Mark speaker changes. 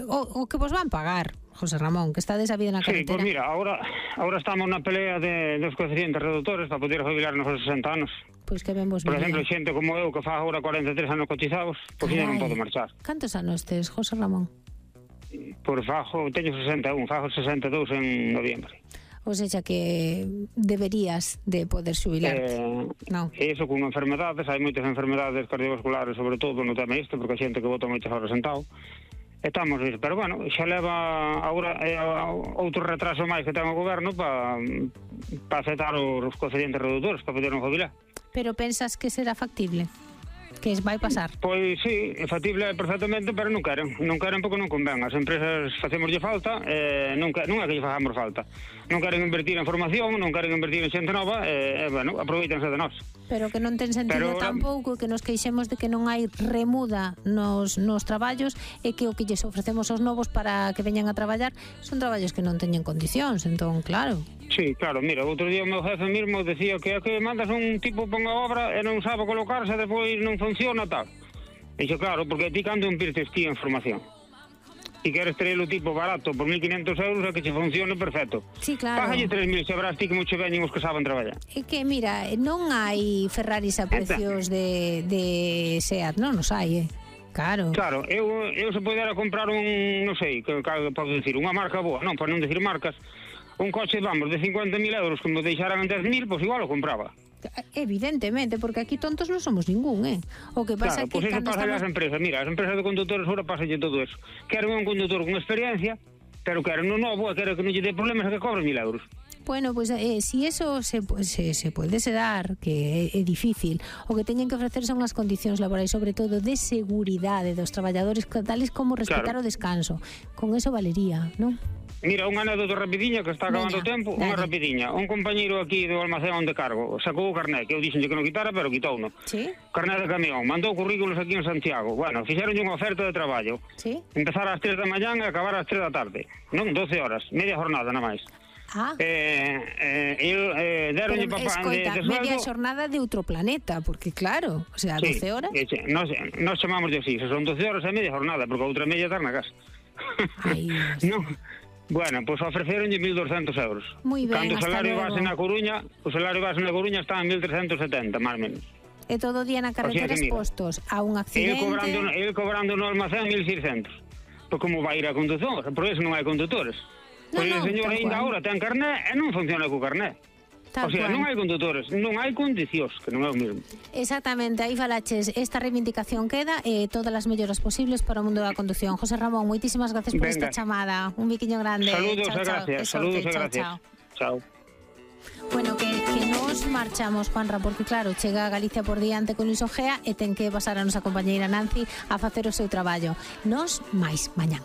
Speaker 1: o que vos van pagar, José Ramón, que está desabido na carretera.
Speaker 2: Sí, pues mira, ahora estamos na pelea dos coeficientes reductores para poder jubilarnos aos 60 anos.
Speaker 1: Pois que ben vos
Speaker 2: Por
Speaker 1: miría.
Speaker 2: exemplo, xente como eu que fa agora 43 anos cotizados, pois xa non podo marchar.
Speaker 1: Cantos anos tes, José Ramón?
Speaker 2: Por teño 61, fago 62 en noviembre.
Speaker 1: Ou seja que deberías de poder xubilarte. Non.
Speaker 2: E iso con enfermedades, hai moitas enfermedades cardiovasculares, sobre todo no tema isto, porque a xente que bota moitas horas sentado. Estamos nisso, pero bueno, xa leva agora outro retraso máis que ten o goberno para aceptar os coeficientes reductores para poder non jubilar.
Speaker 1: Pero pensas que será factible? Que vai pasar?
Speaker 2: Pois sí, é factible perfectamente, pero non queren porque non convén. As empresas facémoslle falta, non é que lle facamos falta. Non queren invertir en formación, non queren invertir en xente nova, bueno, aproveítanse de nós.
Speaker 1: Pero que non ten sentido tampouco que nos queixemos de que non hai remuda nos traballos e que o que lles ofrecemos aos novos para que veñan a traballar son traballos que non teñen condicións, entón, claro.
Speaker 2: Sí, claro, mira, outro día o meu jefe mismo decía que mandas un tipo pon a obra e non sabe colocarse, depois non funciona, tal. Dixo, claro, porque ti cando invirtes ti en formación e queres ter o tipo barato por 1.500 euros é que che funcione perfecto.
Speaker 1: Sí, claro.
Speaker 2: Págalle 3.000, xa verás ti que mucho veñen os que saben traballar.
Speaker 1: É que, mira, non hai Ferraris a precios de SEAT, non os hai, Claro.
Speaker 2: Claro, eu se pudera comprar non sei, que podo dicir, unha marca boa, non, para non dicir marcas, un coche, vamos, de 50.000 euros que me deixaran en 10.000, pois igual o compraba.
Speaker 1: Evidentemente, porque aquí tontos non somos ningún, O que pasa
Speaker 2: claro, pois eso pasa as empresas. Mira, as empresas de conductores ahora pasalle todo eso. Queren un conductor con experiencia, pero queren un novo, queren que non lle dé problemas e que cobre 1.000 euros.
Speaker 1: Bueno, pues si eso se puede dar, que é difícil, o que teñen que ofrecer son as condicións laborais, sobre todo de seguridade dos traballadores, tales como respetar o descanso. Con eso valería, non?
Speaker 2: Mira, unha anécdota rapidiña que está acabando o tempo, unha rapidiña. Un compañeiro aquí do almacén onde cargo sacou o carné, que eu dixenlle que non quitara, pero quitouno.
Speaker 1: Sí.
Speaker 2: Carné de camión, mandou currículos aquí en Santiago. Bueno, fixeronlle unha oferta de traballo.
Speaker 1: Sí.
Speaker 2: Empezar ás 3 da mañán e acabar ás 3 da tarde. Non, 12 horas, media jornada nada máis. Deronlle papá de sueldo.
Speaker 1: Media xornada de outro planeta, porque claro, o sea, 12 horas.
Speaker 2: Nos chamamos de así, son 12 horas e media jornada, porque a outra media está na casa.
Speaker 1: Ai,
Speaker 2: non. Bueno, pois ofreceronlle 1.200 euros.
Speaker 1: Moi ben,
Speaker 2: cando o salario base na Coruña, está en 1.370, máis ou menos.
Speaker 1: E todo o día na carretera expostos a un accidente.
Speaker 2: El cobrando no almacén 1.600. Pois como vai ir a condución? Por eso non hai condutores. Pois o señor ainda agora ten carné e non funciona co carné. O sea, non hai condutores, non hai condicións, que non é o mesmo.
Speaker 1: Exactamente, aí falaches, esta reivindicación queda e todas as melloras posibles para o mundo da condución. José Ramón, moitísimas gracias por esta chamada. Un biquiño grande.
Speaker 2: Saludos e gracias. Saludos e gracias. Chao.
Speaker 1: Bueno, que nos marchamos, Juanra, porque claro, chega a Galicia por diante con Luis Ojea e ten que pasar a nosa compañeira Nancy a facer o seu traballo. Nos máis mañán.